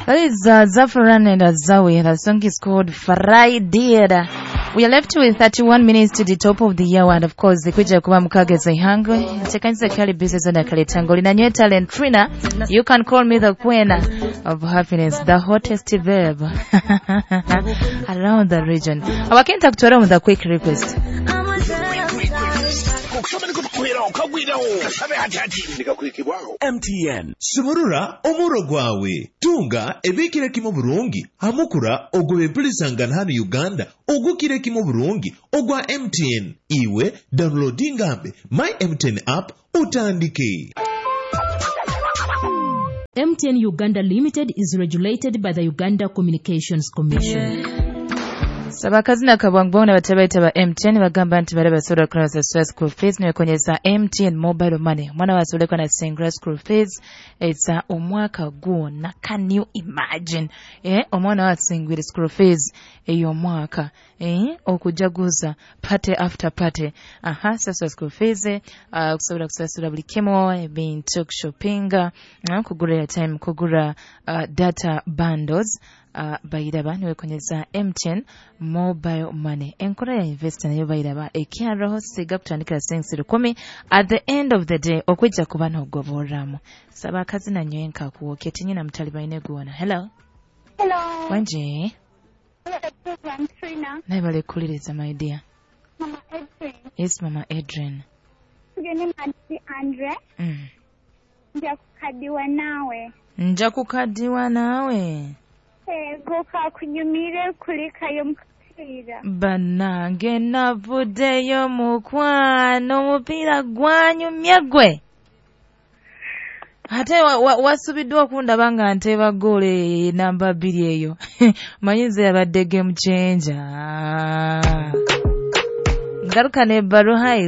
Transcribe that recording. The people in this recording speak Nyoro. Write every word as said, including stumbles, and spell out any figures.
That is uh, Zafran and Azawi. The song is called Friday. We are left with thirty-one minutes to the top of the hour, and of course kuja kuba mukageza ihangwe tekanisa kali business na kale tango linanywe talent Trina. You can call me the queen of happiness, the hottest babe around the region. Abakenta kutwara mu the quick request. M T N sumurura omuro gwawe tunga ebikire kimo burungi hamukura ogwe mpulisangana hano Uganda ogukire kimo burungi ogwa M T N iwe downloadingambe my M T N app utandike. M T N Uganda Limited is regulated by the Uganda Communications Commission. Yeah. Sabakazi na kabwangbona batabaita ba M T N bagamba nti bale basobola kunoza school fees nekonyeza M T N mobile money. Mwana wasoleka na single school fees it's omwaka gwonna. Can you imagine? Eh, omwana wasingwire school fees eyo omwaka. Eh, okujaguza party after party. Aha, sasa school fees uh, kusobola kusasula buli kimu, ebintu shopping, uh, kugura airtime, kugura uh, data bundles. Uh, bayiraba niwekonyeza M T N mobile money enkola ya investor nayo bayiraba ekyaraho siga kutandikira sensi lukumi at the end of the day okwijja kuba n'ogoborramu saba akazi na nyenka kuwoke tinyina mutali bayine guwona. Hello. Hello. Wanje. Hello, Trina. Naye bale kuliriza my dear. Mama Adrian. Yes, Mama Adrian. Tugende Mati Andre. Mm. Nja kukadiwa nawe. Nja kukadiwa nawe. Ego kakunyumire kulikayo mupiira. Bannange navuddeyo mukwano omupiira gwanyumye gwe. Ate wasubiddwa okundaba nga nteeba ggoolo namba bbiri eyo. Manyi nze yabadde game changer. Ngaruka n'ebbaluwa highway.